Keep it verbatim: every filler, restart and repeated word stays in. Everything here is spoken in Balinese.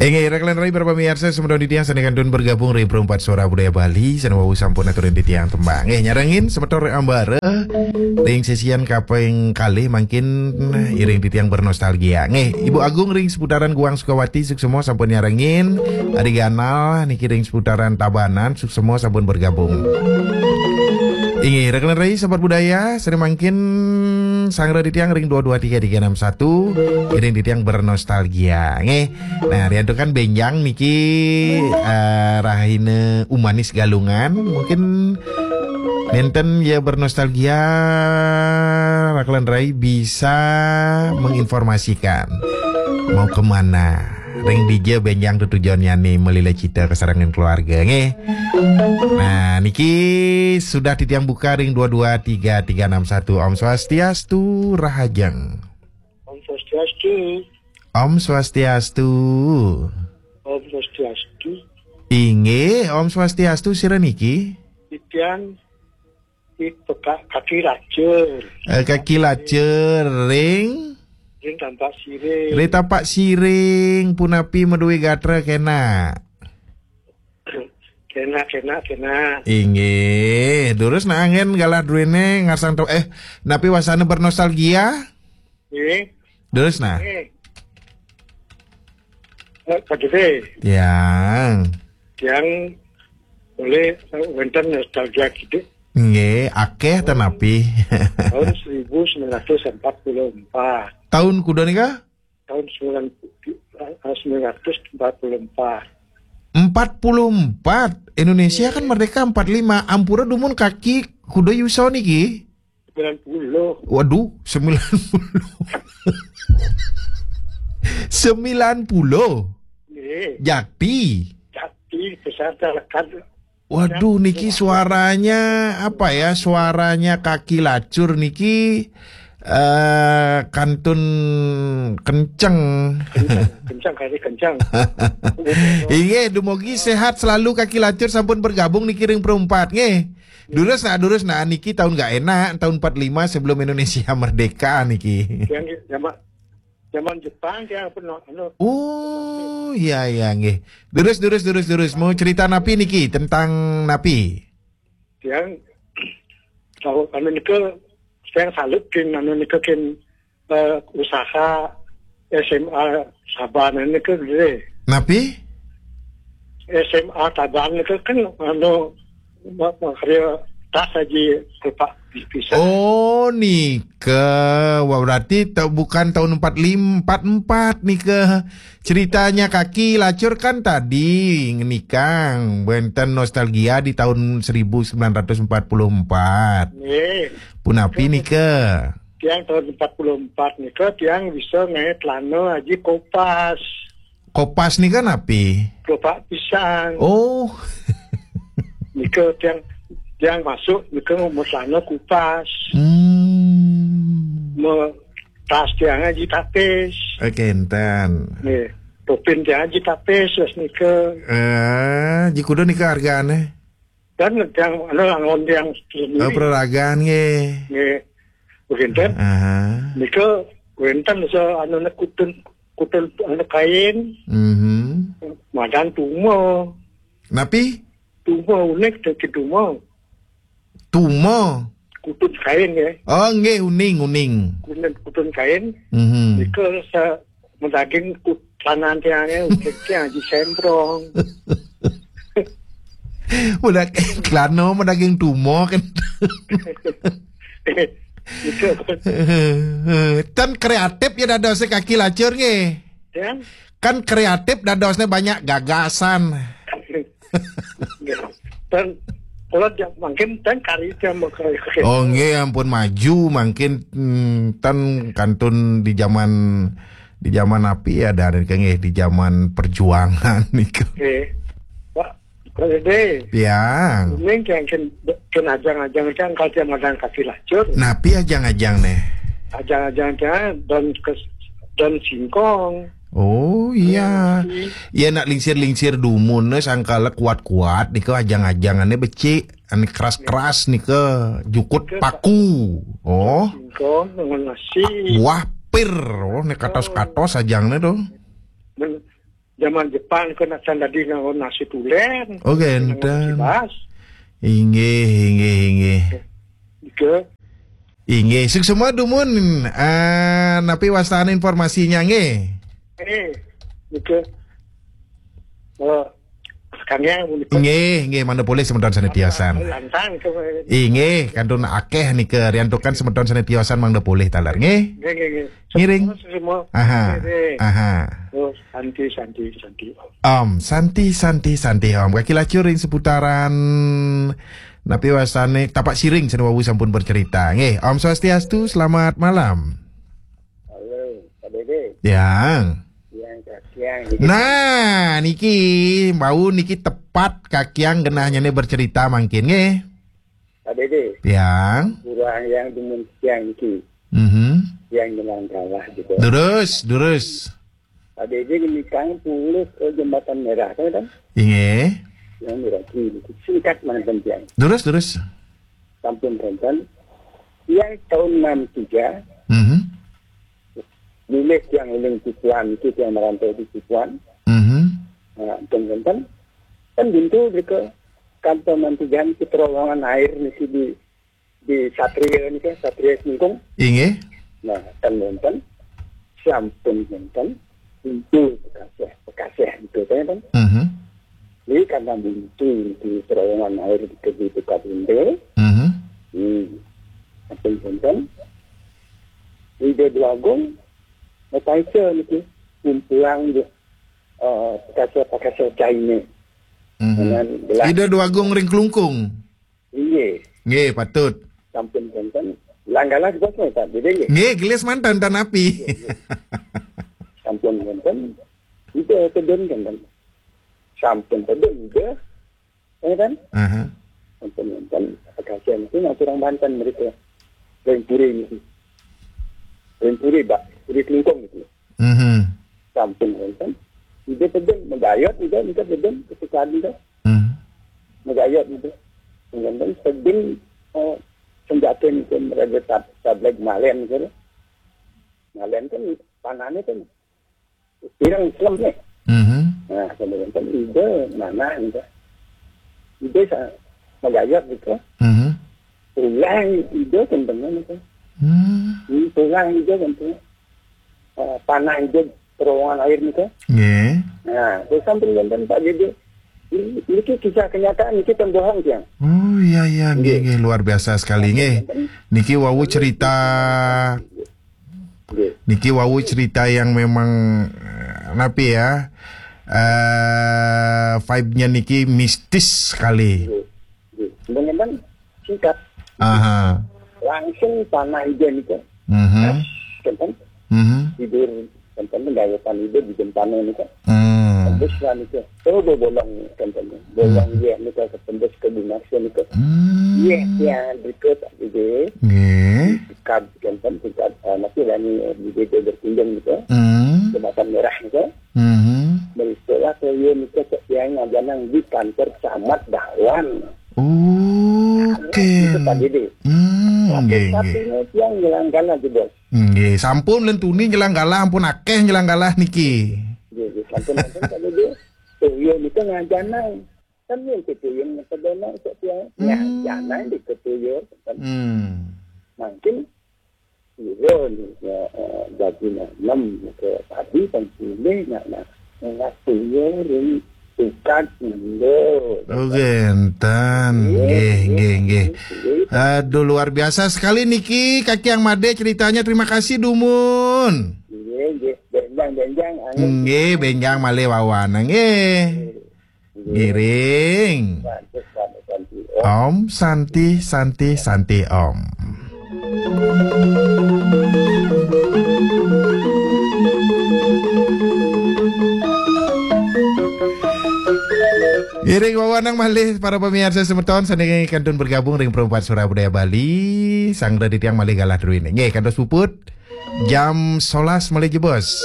Inggih, raka lan rai para pamiarsa, semeton titiang sané kantun bergabung ring Perempat Suara Budaya Bali, sané wau sampun aturin titiang tembang. Inggih, nyarengin semeton ring ambara, ring sesian kaping kalih mangkin iring titiang bernostalgia. Inggih, Ibu Agung ring seputaran Guang Sukawati, suksma sampun nyarengin, Ari Ganal niki ring seputaran Tabanan, suksma sampun bergabung. Inggih, raka lan rai sahabat budaya, sané mangkin sanggra titiang ring dua dua tiga tiga enam satu, iring titiang bernostalgia. Inggih. Nah, riantukan bénjang niki, eh, rahina Umanis Galungan, mungkin nénten ya bernostalgia, raka lan rai bisa menginformasikan mau kemana. Ring dija bénjang tetujonnyané malila cita kasarengan keluarga, nggih. Nah, niki sudah titiang buka ring dua dua tiga tiga enam satu. Om Swastiastu, Rahajeng. Om Swastiastu. Om Swastiastu. Om Swastiastu. Inggih, Om Swastiastu, sira niki? Titiang di Peka-, Kaki Lacur. Eh, Kaki Lacur ring? Ring Tampaksiring. Ring Tampaksiring, punapi madué gatra kénak? Kénak, kénak, kénak. Inggih, durus nah anggén galah druéné ngarsang to-, eh, napi wastané bernostalgia? Nggih. Durus nah. Nggih. Eh, Pak Gede. Tiang. Tiang boleh, eh, wénten nostalgia kidik. Nggih, akéh ten napi? Tahun seribu sembilan ratus empat puluh empat. Tahun kuda nika? Tahun sembilan, eh, sembilan ratus empat puluh empat. Empat puluh empat. Indonesia kan merdeka empat lima. Ampura dumun kaki kuda yusa niki? Sembilan puluh. Waduh, sembilan puluh. Sembilan puluh. Nggih. Jati. Jati, peserta lekat. Waduh, niki suaranya apa ya? Suaranya Kaki Lacur niki, eh, kantun kenceng. Kenceng, kenceng, kali kenceng. Inggih, dumugi sehat selalu Kaki Lacur sampun bergabung niki ring Perempat, nggih. Durus nah, durus nah, niki tahun nggak enak, tahun empat lima sebelum Indonesia merdeka niki. Yang zaman, zaman Jepang dia apa, no, anu. Oh, iya, iya, nggih. Durus, durus, durus, durus. Mau cerita napi niki, tentang napi? Tiang tahu anu nika, tiang salut kin anu nika kin, eh, usaha S M A Tabanan nika gedé. Napi? S M A Tabanan nika kan anu ma-, makarya tas aji kepak pisah. Oh, nika. Wah, berarti ta-, bukan tahun empat lima, empat empat nika. Ceritanya Kaki Lacur kan tadi ngenikang, wénten nostalgia di tahun seribu sembilan ratus empat puluh empat. Nggih. Punapi nika? Tiang tahun empat puluh empat nika tiang bisa ngaé celana aji kopas. Kopas nika napi? Kepak pisang. Oh. Nika tiang, tiang masuk nika mau celana kupas. Hmm. Mau tas tiang aji tapis. Oke, enten. Nggih. Topin tiang aji tapis, wes nika. Eh, ji kuda nika hargane? Dan tiang, anu, angon tiang sendiri. Oh, peraragan nggih. Nggih. Beginten. Aha. Nika wénten sa anu kutun, kutun anu kain. Mhm. Madan tuma. Napi? Tuma unik, tuma. Tuma. Kutun kain, ya. Oh, nggih, uning, uning. Kutun, kutun kain. Mhm. Nika sa-, madaging kut-, kanan tiangé, unik tiang aji semprong. Udah klano madaging tuma kan. Nika. Tan kreatif ya dadosnya Kaki Lacur nggih. Ya. Kan kreatif dadosnya banyak gagasan. Dan kalau dia mungkin tan kari dia mau ke-, ke-, Oh, nggih, ampun maju mungkin, hmm, tan kantun di zaman, di zaman napi ya, dari nggih, di zaman perjuangan niku. Nggih. Pak, Pak Gede. Tiang. Ini yang ken, ken ajang-ajang kan kalau dia makan Kaki Lacur. Napi ajang-ajang neh? Ajang-ajang tiang don kes-, don singkong. Oh, iya. Iya, nak lingsir-lingsir dumun, eh, sangkala kuat-kuat, nika ajang-ajangannya becik, ane keras-keras nika, jukut paku. Oh. Singkong dengan nasi. Wah, pir. Oh, nek katos-katos ajangnya tuh. Men zaman Jepang ke nak can dadi ngan nasi tulen. Oh, ngan nasi genten. Bas. Inggih, inggih, inggih. Nika. Inggih, suksma dumun. Ah, napi wastane informasinya nggih? Eh, nika. Eh, sekarang nika. Nggih, nggih, mangda polih semeton sane tiosan. Lantang ke. Inggih, kantun akeh nika riantukan semeton sane tiosan mangda polih taler nggih. Nggih, nggih, nggih. Ngiring. Semua, semua. Aha. Nggih, nggih. Aha. Oh, santi, santi, santi. Om, santi, santi, santi, Om. Kaki lacur ring seputaran napi wastane Tapak Siring sane wau sampun bercerita. Nggih, Om Swastiastu, selamat malam. Halo, Pak Dede. Yang. Yang, Kak, yang. Nah, niki bau niki tepat kakiang genahnyane bercerita mangkin nggih. Pak Dede. Yang. Kurang yang demen siang niki. Mhm. Yang dengan kalah juga. Durus, durus. Pak Dede niki kang pulih ke Jembatan Merah kan, kan? Inggih. Yang merah kiri. Singkat mangkin yang. Durus, durus. Sampun wonten. Yang tahun enam tiga, mhm, milih yang uling Cipuan, itu yang merantau di Cipuan. Mhm. Nah, sampun wonten. Kan pintu ke kantor enam tiga niki terowongan air niki di, di Satria niki, Satria Singkung. Inggih. Nah, kan wonten. Sampun wonten. Pintu Bekaseh, Bekaseh itu kan. Mhm. Jadi karena buntu di terowongan air di, di dekat pintu. Mhm. Hmm. Sampun wonten. Ida Dwagung, Metaisa niki. Kumpulan di, eh, Bekaseh, Bekaseh China. Mhm. Dengan belah. Ida Dwagung ring Klungkung. Inggih. Nggih, patut. Sampun wonten. Langgalah juga tak beda nggih. Nggih, gelis mantan tan api. Nggih, nggih. Sampun wonten. Ida tedun kan. Sampun tedun ida. Ya kan? Aha. Sampun wonten. Kasihan itu ngaturang Banten mereka. Ring Puri ini. Ring Puri, Pak. Puri Klungkung itu. Mhm. Sampun wonten. Ida tedun, magayot ida, ida tedun, kesukaan ida. Mhm. Magayot ida. Wonten tedun, eh, senjata niki raja tab-, tableg malen gitu. Malen kan panahnya kan pirang selem nih. Mhm. Nah, kemudian kan ida mana ida. Ida sa-, magayot gitu. Mhm. Pulang ida kan dengan itu. Hmm. Hmm, pulang ida kan tu. Eh, panah ida terowongan air niki. Nggih. Nah, terus sampun wonten Pak Dede. Ini, niki kisah kenyataan, niki ten bohong, tiang. Oh, iya, iya, nggih, nggih. Nggih, luar biasa sekali, nggih. Niki wau cerita, nggih, niki wau cerita yang memang, eh, napi ya, eh, vibe-nya niki mistis sekali. Nggih, nggih. Sampun wonten singkat. Aha. Langsung panah ida niki. Mhm. Kan? Mhm. Tidur, kan, kan, gaya panah ida di jempana niki. Hmm. Tembus lah niki. Oh, bo-, bolong, kan, kan. Bolong, hmm, iya niki ketembus ke dinas niki. Hmm. Iya, iya, berikut, gitu. Nggih. Tingkat, kan, kan, tingkat, eh, masih lah ni, eh, di desa Berkunjung niki. Hmm. Jembatan Merah niki. Mhm. Berikutlah saya niki, saya ngajanang di kantor camat Dawan. Oke. Itu Pak Dede. Hmm, nggih, nggih. Satu-satunya tiang nyelang galah, Bos. Nggih, sampun lentuni nyelang galah, ampun akeh nyelang galah niki. Nggih, nggih, sampun, sampun, Pak Dede. Tuyul niki ngajanang. Kan yang tuyul ngepedono cek tiang. Hmm. Ngajanang di tuyul. Hmm. Mungkin iya, ni, ya, eh, bagi nanem ke tadi kan pilih nak, nak, nak tuyul ring tukad indo. Oh, genten. Iya, nggih, iya, nggih, nggih. Iya. Aduh, luar biasa sekali niki, Kaki Yang Made ceritanya. Terima kasih, dumun. Nggih, nggih. Benjang, benjang, anu. Nggih, benjang malih wawan, nggih. Nggih. Ngiring. Bantu, bantu, bantu. Om Santi, Santi, Santi, Om. Ngiring wewenang malih para pamiarsa semeton sane kantun bergabung ring Perempat Suara Budaya Bali, sang dadi tiang malih galah druene. Nggih, kantos puput jam solas malih jebos.